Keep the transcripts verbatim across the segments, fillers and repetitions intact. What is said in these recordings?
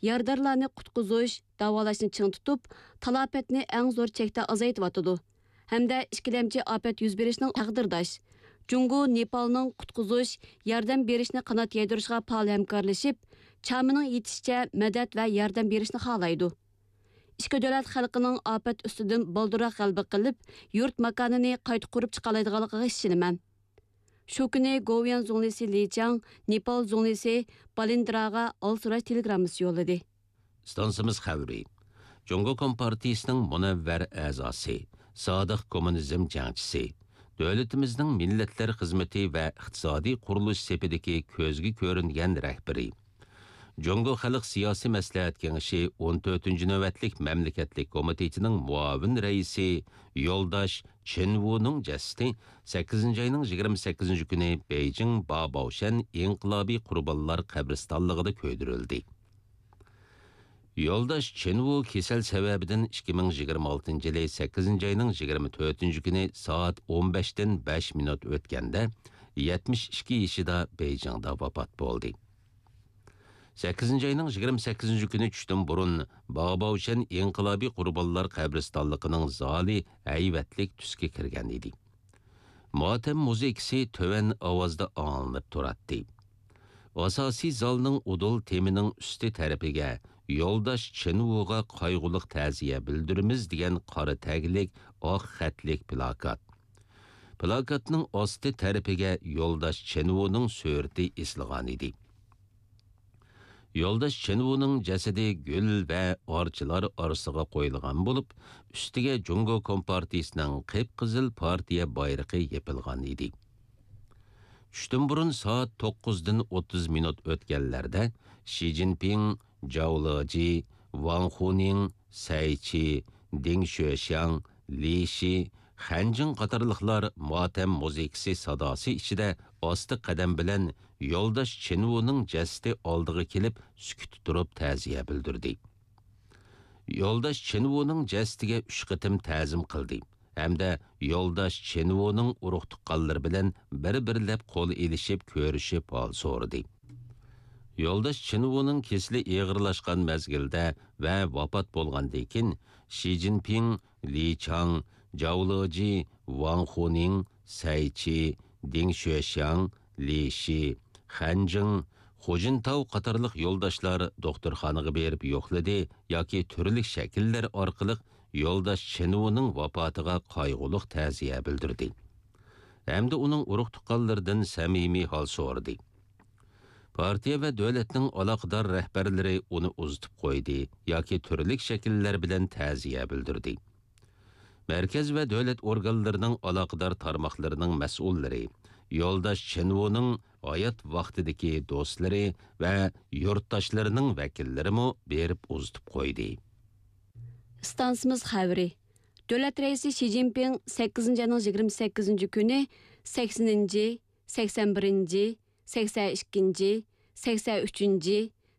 يارىدارلارنى قۇتقۇزۇش، داۋالاشنى چىڭ تۇتۇپ، تالاپەتنى ئەڭ زور چەكتە ئازايتىۋاتىدۇ ھەمدە ئىككىلەمچى ئاپەت يۈز بېرىشنىڭ تەقدىرداش، جۇڭگو نېپالنىڭ قۇتقۇزۇش، ياردەم بېرىشنى قانات يايدۇرۇشىغا پائال ھەمكارلىشىپ، چامىنىڭ يېتىشىچە مەدەت ۋە ياردەم بېرىشنى خالايدۇ. ئىككى دۆلەت خەلقىنىڭ ئاپەت ئۈستىدىن بالدۇرراق غەلىبە قىلىپ، يۇرت ماكانىنى قايتا قۇرۇپ چىقالايدىغانلىقىغا ئىشىنىمەن. شۇ كۈنى گوۋۇيۈەن زۇڭلىسى لى چياڭ نېپال زۇڭلىسى بالىندىراغا ھال سوراش تېلېگراممىسى يوللىدى. ئىستانسىمىز خەۋىرى. جۇڭگو كومپارتىيىسىنىڭ مۇنەۋۋەر ئەزاسى، سادىق كوممۇنىزم جەڭچىسى، دۆلىتىمىزنىڭ مىللەتلەر خىزمىتى ۋە ئىقتىسادىي قۇرۇلۇش سېپىدىكى كۆزگە كۆرۈنگەن رەھبىرى، جۇڭگو خەلق سىياسىي مەسلىھەت كېڭىشى ئون تۆتىنچى نۆۋەتلىك مەملىكەتلىك كومىتېتىنىڭ مۇئاۋىن رەئىسى يولداش چېن ۋۇنىڭ جەسىتى سەككىزىنچى ئاينىڭ يىگىرمە سەككىزىنچى كۈنى بېيجىڭ باباۋشەن ئىنقىلابىي قۇربانلار قەبرىستانلىقىدا كۆيدۈرۈلدى. يولداش چېن ۋۇ كېسەل سەۋەبىدىن ئىككى مىڭ يىگىرمە ئالتىنچى يىلى سەككىزىنچى ئاينىڭ يىگىرمە تۆتىنچى كۈنى سائەت ئون بەشتىن بەش مىنۇت ئۆتكەندە يەتمىش ئىككى يېشىدا بېيجىڭدا ۋاپات بولدى. سەككىزىنچى ئاينىڭ يىگىرمە سەككىزىنچى كۈنى چۈشتىن بۇرۇن باۋباۋشەن ئىنقىلابىي قۇربانلار قەبرىستانلىقىنىڭ زالى ھەيۋەتلىك تۈسكە كىرگەن ئىدى. ماتەم مۇزىكىسى تۆۋەن ئاۋازدا ئاڭلىنىپ تۇراتتى. ئاساسىي زالنىڭ ئۇدۇل تېمىنىڭ ئۈستى تەرىپىگە يولداش چېن ۋۇغا قايغۇلۇق تەزىيە بىلدۈرىمىز دېگەن قارا تەگلىك ئاق خەتلىك پىلاكات. پىلاكاتنىڭ ئاستى تەرىپىگە يولداش چېن ۋۇنىڭ سۈرىتى ئېسىلغانىدى. يولداش چېن ۋۇنىڭ جەسىتى گۈل ۋە ئارچىلار ئارىسىغا قويۇلغان بولۇپ، ئۈستىگە جۇڭگو كومپارتىيىسىنىڭ قىپقىزىل پارتىيە بايرىقى يېپىلغان ئىدى. چۈشتىن بۇرۇن سائەت توققۇزدىن ئوتتۇز مىنۇت ئۆتكەنلەردە شى جىنپىڭ، جاۋ لېجى، ۋاڭ خۇنىڭ، سەي چى، دېڭ شۆشياڭ، لى شى، خەنجىڭ قاتارلىقلار ماتەم مۇزىكىسى ساداسى ئىچىدە ئاستا قەدەم بىلەن يولداش چېن ۋۇنىڭ جەسىتى ئالدىغا كېلىپ، سۈكۈتتە تۇرۇپ تەزىيە بىلدۈردى. يولداش چېن ۋۇنىڭ جەسىتىگە ئۈچ قېتىم تەزىم قىلدى ھەمدە يولداش چېن ۋۇنىڭ ئۇرۇق-تۇغقانلىرى بىلەن بىر-بىرلەپ قول ئېلىشىپ كۆرۈشۈپ ھال سورىدى. يولداش چېن ۋۇنىڭ كېسىلى ئېغىرلاشقان مەزگىلدە ۋە ۋاپات بولغاندىن كېيىن، شى جىنپىڭ، لى چاڭ، جاۋ لېجى، ۋاڭ خۇنىڭ، سەي چى، دېڭ شۆشياڭ، لى شى، خەنجىڭ، خۇجىنتاۋ قاتارلىق يولداشلار دوختۇرخانىغا بېرىپ يوقلىدى ياكى تۈرلۈك شەكىللەر ئارقىلىق يولداش چېن ۋۇنىڭ ۋاپاتىغا قايغۇلۇق تەزىيە بىلدۈردى ھەمدە ئۇنىڭ ئۇرۇق-تۇغقانلىرىدىن سەمىمىي ھال سورىدى. پارتىيە ۋە دۆلەتنىڭ ئالاقىدار رەھبەرلىرى ئۇنى ئۇزىتىپ قويدى ياكى تۈرلۈك شەكىللەر بىلەن تەزىيە بىلدۈردى. مەركەز ۋە دۆلەت ئورگانلىرىنىڭ ئالاقىدار تارماقلىرىنىڭ مەسئۇللىرى يولداش چېن ۋۇنىڭ ھايات ۋاقتىدىكى دوستلىرى ۋە يۇرتداشلىرىنىڭ ۋەكىللىرىمۇ بېرىپ ئۇزىتىپ قويدى. ئىستانسىمىز خەۋىرى. دۆلەت رەئىسى شى جىنپىڭ سەككىزىنچى ئاينىڭ يىگىرمە سەككىزىنچى كۈنى سەكسىنىنچى، سەكسەن بىرىنچى، سەكسەن ئىككىنچى، سەكسەن ئۈچىنچى،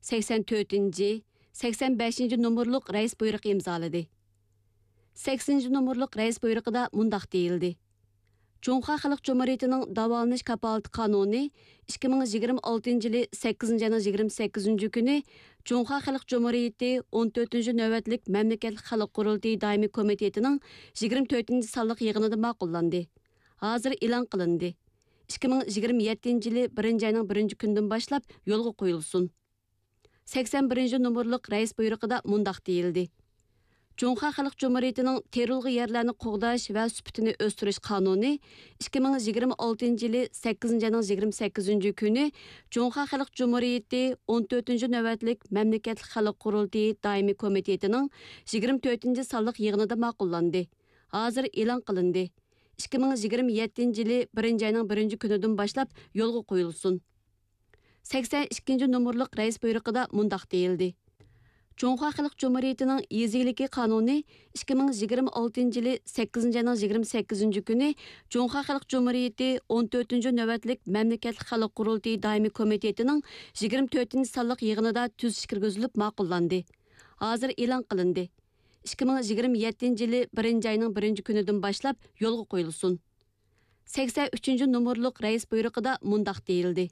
سەكسەن تۆتىنچى، سەكسەن بەشىنچى نومۇرلۇق رەئىس بۇيرۇقى ئىمزالىدى. سەكسىنىنچى نومۇرلۇق رەئىس بۇيرۇقىدا مۇنداق دېيىلدى: جۇڭخۇا خەلق جۇمھۇرىيىتىنىڭ داۋالىنىش كاپالىتى قانۇنى ئىككى مىڭ يىگىرمە ئالتىنچى يىلى سەككىزىنچى ئاينىڭ يىگىرمە سەككىزىنچى كۈنى جۇڭخۇا خەلق جۇمھۇرىيىتى ئون تۆتىنچى نۆۋەتلىك مەملىكەتلىك خەلق قۇرۇلتىيى دائىمىي كومىتېتىنىڭ يىگىرمە تۆتىنچى سانلىق يىغىنىدا ماقۇللاندى. ھازىر ئېلان قىلىندى. ئىككى مىڭ يىگىرمە يەتتىنچى يىلى بىرىنچى ئاينىڭ بىرىنچى كۈنىدىن باشلاپ يولغا قويۇلسۇن. سەكسەن بىرىنچى نومۇرلۇق رەئىس بۇيرۇقىدا مۇنداق دېيىلدى: جۇڭخۇا خەلق جۇمھۇرىيىتىنىڭ تېرىلغۇ يەرلەرنى قوغداش ۋە سۈپىتىنى ئۆستۈرۈش قانۇنى ئىككى مىڭ يىگىرمە ئالتىنچى يىلى سەككىزىنچى ئاينىڭ يىگىرمە سەككىزىنچى كۈنى جۇڭخۇا خەلق جۇمھۇرىيىتى ئون تۆتىنچى نۆۋەتلىك مەملىكەتلىك خەلق قۇرۇلتىيى دائىمىي كومىتېتىنىڭ يىگىرمە تۆتىنچى سانلىق يىغىنىدا ماقۇللاندى. ھازىر ئېلان قىلىندى. ئىككى مىڭ يىگىرمە يەتتىنچى يىلى بىرىنچى ئاينىڭ بىرىنچى كۈنىدىن باشلاپ يولغا قويۇلسۇن. سەكسەن ئىككىنچى نومۇرلۇق رەئىس بۇيرۇقىدا مۇنداق دېيىلدى: جۇڭخۇا خەلق جۇمھۇرىيىتىنىڭ يېزا ئىگىلىكى قانۇنى ئىككى مىڭ يىگىرمە ئالتىنچى يىلى سەككىزىنچى ئاينىڭ يىگىرمە سەككىزىنچى كۈنى جۇڭخۇا خەلق جۇمھۇرىيىتى ئون تۆتىنچى نۆۋەتلىك مەملىكەتلىك خەلق قۇرۇلتىيى دائىمىي كومىتېتىنىڭ يىگىرمە تۆتىنچى سانلىق يىغىنىدا تۈزۈش كىرگۈزۈلۈپ ماقۇللاندى. ھازىر ئېلان قىلىندى. ئىككى مىڭ يىگىرمە يەتتىنچى يىلى بىرىنچى ئاينىڭ بىرىنچى كۈنىدىن باشلاپ يولغا قويۇلسۇن. سەكسەن ئۈچىنچى نومۇرلۇق رەئىس بۇيرۇقىدا مۇنداق دېيىلدى: